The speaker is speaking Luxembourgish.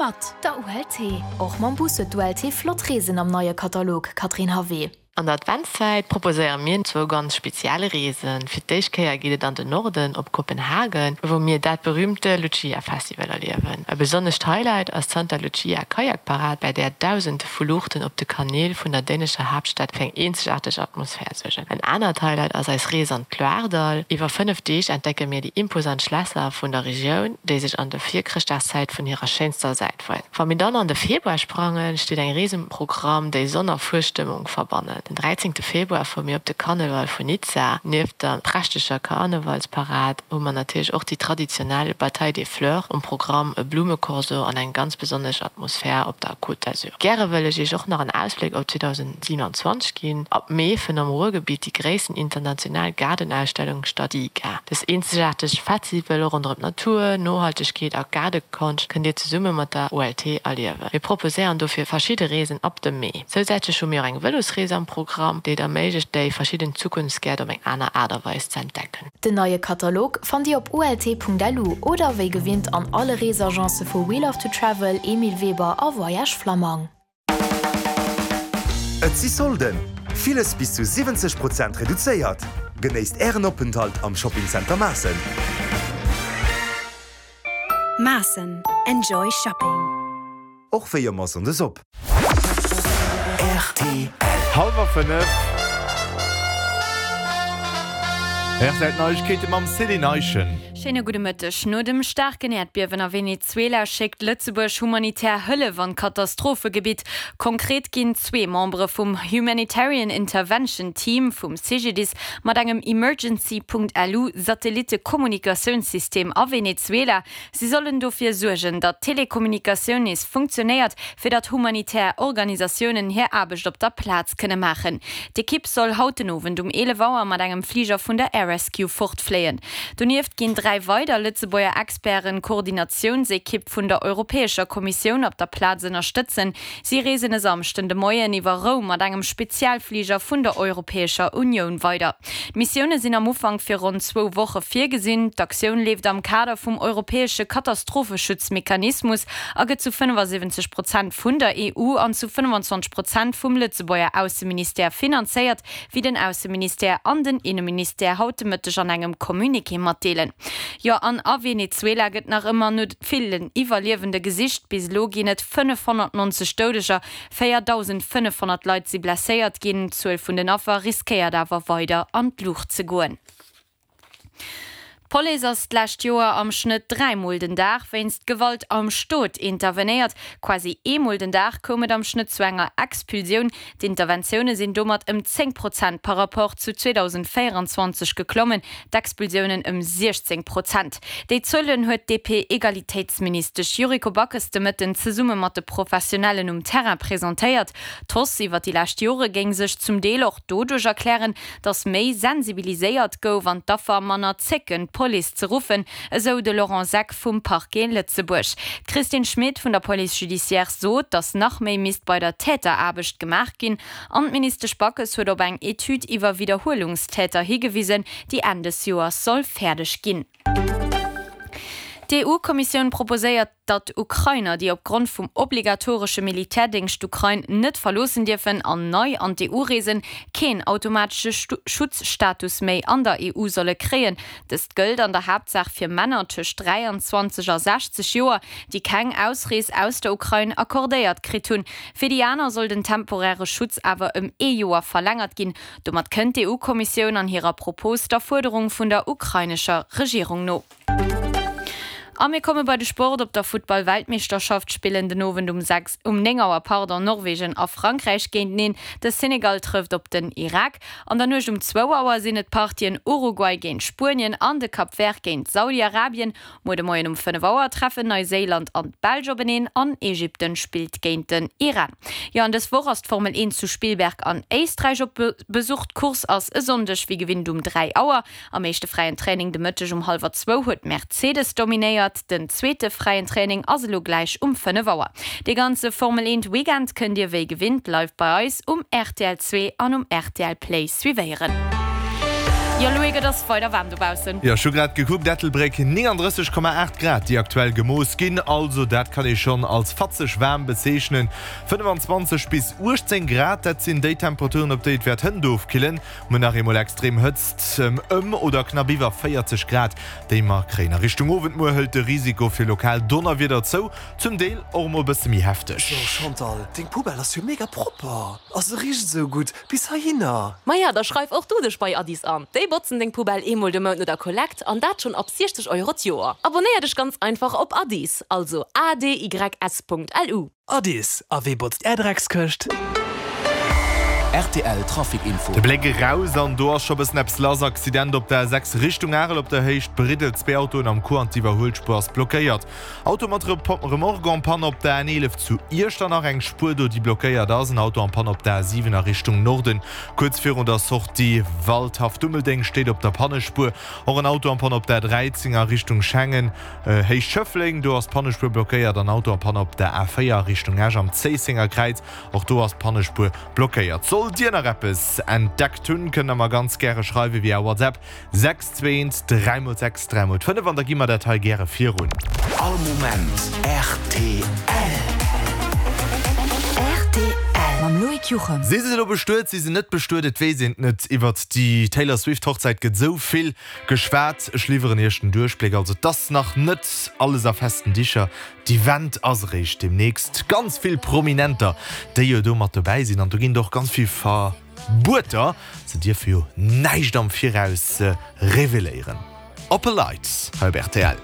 Mat der ULT. Och mam Bus huet d'ULT flott Reesen am neie Katalog, Catherine Havé. An der Adventszäit proposéiere mir zwou ganz speziell Reesen. Fir d'éischt Kéier geet et an den Norden op Kopenhagen, wou mir dat berüümte Lucia Festival erliewen. E besonnescht Highlight ass d'Santa Lucia Kajakparad, bei där Dausende vu Luuchten op de Kanäl vun der dänescher Haaptstad fir eng eenzegaarteg Atmosphär suergen. En anert Highlight ass eis Rees an d'Loiredall. Iwwer 5 Deeg entdecke mir déi imposant Schlässer vun der Regioun, déi sech an der Virchrëschtdagszäit vun hirer schéinster Säit weisen. Wa mir dann an de Februar sprangen, steet eng Rees um Programm, déi Sonn a Fuesstëmmung verbannen. Den 13 Februar fuere mir op de Karneval vun Nizza. Nieft der prächteger Karnevalsparad hu mer natierlech och déi traditionell Bataille des Fleurs um Programm, e Blummekorso an eng ganz besonnesch Atmosphär op der Côte d'Azur. Gäre wëll ech Iech och nach en Ausbléck op 2027 ginn. Ab Mee fënnt am Ruhrgebitt déi gréissten international Gaardenausstellung statt, d'IGA. Dës eenzegaarteg Festival ronderëm d'Natur, Nohaltegkeet a Gaardekonscht kënnt Dir zesumme mat der OLT erliewen. Mir proposéieren dofir verschidde Reesen ab dem Mee. Zousätzlech hu mir och eng Vëlosrees am Programm, déi et erméiglecht, déi verschidden Zukunftsgäert op eng aner Aart a Weis ze entdecken. Den neie Katalog fannt Dir op ult.lu oder wéi gewinnt an alle Reesagencë vu We Love to Travel, Emile Weber a Voyages Flammang. Et si Solden! Villes bis zu 70 Prozent reduzéiert! Genéisst Ären Openthalt am Shopping Center Maassen! Maassen, Enjoy Shopping! Och wéi ëmmer Sonndes op. Rtl. Hallwer 5. RTL Neiegkeete mam Céline Eischen. Schéine gudde Mëtteg. No dem staarken Äerdbiewen a Venezuela schéckt Lëtzebuerg humanitär Hëllef an d'Katastrophegebitt. Konkret ginn zwee Membere vum Humanitarian Intervention Team vum CGDIS mat engem Emergency.lu Satellittekommunikatiounssystem a Venezuela Si sollen dofir suergen, datt d'Telekommunikatioun nees funktionéiert, fir datt humanitär Organisatiounen hir Aarbecht op der Plaz kënne maachen. D'Ekipp soll haut den Owend um 11 Auer mat engem Fliger vun der Air Rescue fortfléien. Donieft ginn 3 weider Lëtzebuerger Experten d'Koordinatiounsekipp vun der Europäescher Kommissioun op der Plaz ënnerstëtzen. Si reesen e Samschden de Moien iwwer Roum mat engem Spezialfliger vun der Europäescher Unioun weider. D'Missioune sinn am Ufank fir ronn zwou Woche virgesinn. D'Aktioun leeft am Kader vum europäesche Katastropheschutzmechanismus a gëtt zu 75 Prozent vun der EU an zu 25 Prozent vum Lëtzebuerger Ausseministère finanzéiert, wéi den Ausseministère an den Inneministère haut de Mëtteg an engem Communiqué matdeelen. Jo, an a Venezuela gëtt nach ëmmer no villen Iwwerliewende gesicht. Bis elo ginn et 590 Doudeger, 4.500 Leit si blesséiert ginn. D'Zuel vun den Affer riskéiert awer weider an d'Luucht ze goen. D'Police ass d'lescht Joer am Schnëtt dräimol den Dag wéinst Gewalt am Stot intervenéiert. Quasi eemol den Dag koum et am Schnëtt zu enger Expulsioun. D'Interventioune sinn domat ëm 10 Prozent par Rapport zu 2024 geklommen, d'Expulsiounen ëm 16 Prozent. Déi Zuelen huet d'DP-Egalitéitsministesch Yuriko Backes de Mëtten zesumme mat de Professionellen um Terrain presentéiert. D'Hausse iwwer déi lescht Jore géing sech zum Deel och doduerch erklären, datt méi sensibiliséiert gouf an d'Affer manner zécken, d'Police ze ruffen, esou de Laurent Seck vum Parquet Lëtzebuerg. D'Christine Schmit vun der Police judiciaire sot, datt nach méi misst bei der Täteraarbecht gemaach ginn. An d'Ministesch Backes huet op eng Etüd iwwer Widderhuelungstäter higewisen, déi Enn des Joers soll fäerdeg ginn. D'EU-Kommissioun proposéiert, datt Ukrainer, déi opgrond vum obligatoresche Militärdéngscht d'Ukrain net verloossen dierfen an nei an d'EU reesen, keen automatesche Schutzstatus méi an der EU solle kréien. Dëst gëllt an der Haaptsaach fir Männer tëscht 23 a 60 Joer, déi keng Ausrees aus der Ukrain accordéiert kritt hunn. Fir déi aner soll den temporäre Schutz awer ëm ee Joer verlängert ginn. Domat kënnt d'EU-Kommissioun an hirer Propos der Fuerderung vun der ukrainescher Regierung no. A mir komme bei de Sport. Op der Futtball-Weltmeeschterschaft spillen den Owend um 6, um 9 Auer, pardon, Norwegen a Frankräich géinteneen. De Senegal trëfft op den Irak. An der Nuecht um zwou Auer sinn et d'Partien Uruguay géint Spuenien an de Cap Vert géint Saudi-Arabien. Muer de Moien um 5 Auer treffen Neuséiland an d'Belsch openeen an Ägypten spillt géint den Iran. Jo an dës Woch ass d'Formel 1 zu Spielberg an Éisträich op Besuch. D'Course ass e Sonndeg wéi gewinnt um 3 Auer. Am éischte fräien Training de Mëtteg um hallwer zwou huet Mercedes dominéiert. Den zweete fräien Training ass elo gläich um 5 Auer. Dee ganze Formel 1 Weekend kënnt dir wéi gewinnt live bei eis um rtl 2 an um rtl Play suivéieren. Jo Loïc, et ass weider waarm dobaussen. Jo, ech hu grad gekuckt, Ettelbréck 39,8 Grad déi aktuell gemooss ginn, also dat kann ee schonn als fatzeg waarm bezeechnen. 25 bis 18 Grad, dat sinn déi Temperaturen op déi et wäert hënt ofkillen. Muer nach eemol extrem Hëtzt ëm oder knapp iwwer 40 Grad déi mer kréien. A Richtung Owend muer hëlt de Risiko fir lokal Donnerwieder zou, zum Deel och emol bësse méi hefteg. So Chantal, deng Poubelle ass jo mega propper a se richt esou gutt bis heihinner. Maja, da schreif och du dech bei Addis an. Déi botzen deng Poubelle eemol de Mount no der Kollekt an dat schonn ab 60 Euro d'Joer. Abonnéier dech ganz einfach op Addis, also adys.lu. Addis, a wee botzt är Dreckskëscht? Rtl Trafic Info. De Bléck eraus an do ass scho bëssen eppes lass. Accident op der A6 Richtung Arel op der Héicht Briddel, zwee Autoen am Coup an d'Iwwerhuelspuer ass blockéiert. Auto mat Remorque en panne op der N11 zu Iechternach, eng Spuer do déi blockéiert ass. En Auto en panne op der A7 a Richtung Norden, kuerz virun der Sortie Waldhaff Dummeldeng steet op der Pannespuer. Och en Auto en panne op der A13 a Richtung Schengen, Héicht Schëffleng, do ass d'Pannespuer blockéiert. An Auto en panne op der A4 a Richtung Esch am Zéissenger Kräiz, och do ass d'Pannespuer blockéiert. Sollt Dir nach eppes entdeckt hunn, kënnt der mer ganz gäre schreiwe via WhatsApp 6 2 1 3 mol 6 3 mol 5 an da gi mer dat hei gäre virun. All Moment rtl. Rtl mam Loïc Juchem. Si se elo bestuet, si se net bestuet, et weess een et net. Iwwert déi Taylor Swift Hochzäit gëtt esou vill geschwat. Ech liwweren iech den Duerchbléck. Also et ass nach net alles a festen Dicher. D'Event ass eréischt deemnächst. Ganz vill Prominenter, déi jo do mat dobäi sinn an do ginn et och ganz vill Ver. Bueter, se dierfe jo näischt am Viraus reveléieren. Oppe Leit hei op rtl.